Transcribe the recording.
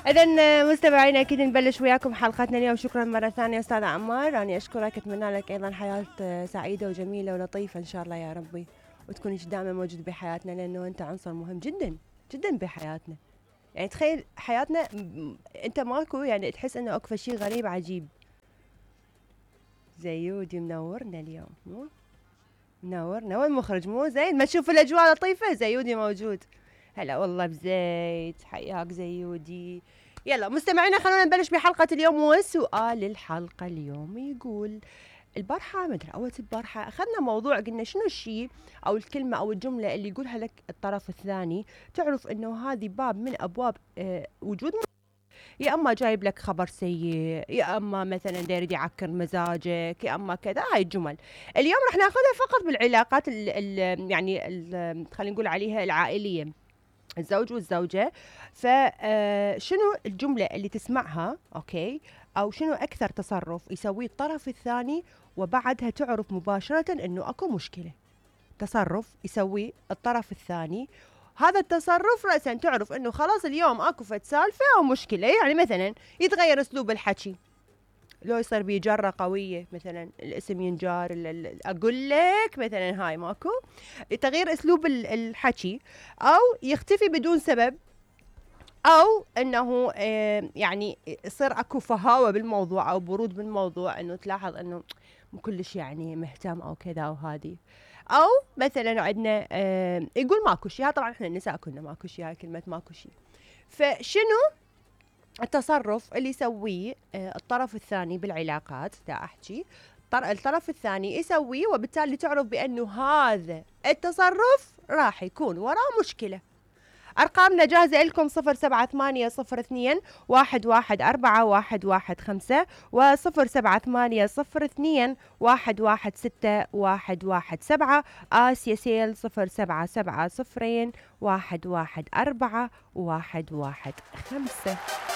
إذن مستمعينا أكيد نبلش وياكم حلقتنا اليوم. شكرا مرة ثانية أستاذ عمار، أنا أشكرك، أتمنى لك أيضا حياة سعيدة وجميلة ولطيفة إن شاء الله يا ربي، وتكون دائما موجود بحياتنا، لأنه أنت عنصر مهم جدا جدا بحياتنا. يعني تخيل حياتنا أنت ماكو، يعني تحس إنه أكو شيء غريب عجيب. زيودي منورنا اليوم، مو منورنا، وين المخرج مو زين؟ ما تشوف الأجواء لطيفة؟ زيودي موجود. هلا والله بزيت، حياك زيودي. يلا مستمعينا خلونا نبلش بحلقة اليوم. وسؤال الحلقة اليوم يقول: البارحة مدري أول البارحة أخذنا موضوع، قلنا شنو الشيء أو الكلمة أو الجملة اللي يقولها لك الطرف الثاني تعرف إنه هذه باب من أبواب وجود، يا أما جايب لك خبر سيء، يا أما مثلا داير يعكر مزاجك، يا أما كذا. هاي الجمل اليوم رح ناخذها فقط بالعلاقات خلينا نقول عليها العائلية، الزوج والزوجة. فشنو الجملة اللي تسمعها أوكي، أو شنو أكثر تصرف يسويه الطرف الثاني وبعدها تعرف مباشرة إنه أكو مشكلة؟ تصرف يسويه الطرف الثاني، هذا التصرف رأسا تعرف إنه خلاص اليوم أكو فد سالفة أو مشكلة. يعني مثلا يتغير أسلوب الحكي، لو يصير بيه جرة قوية، مثلا الاسم ينجار، أقول لك مثلا هاي ماكو تغيير أسلوب الحكي، أو يختفي بدون سبب، أو أنه يعني يصير أكو فهاوة بالموضوع أو برود بالموضوع، أنه تلاحظ أنه مو كلش يعني مهتم أو كذا أو هذه. أو مثلا عندنا يقول ماكو شيء، طبعا احنا النساء كنا ماكو شيء، هاي كلمة ماكو شيء. فشنو التصرف اللي يسويه الطرف الثاني بالعلاقات؟ دا أحكي الطرف الثاني يسويه وبالتالي تعرف بأنه هذا التصرف راح يكون وراه مشكلة. أرقامنا جاهزة لكم: 07802 114 115 و07802 116 آسيا سيل 0770 114 115.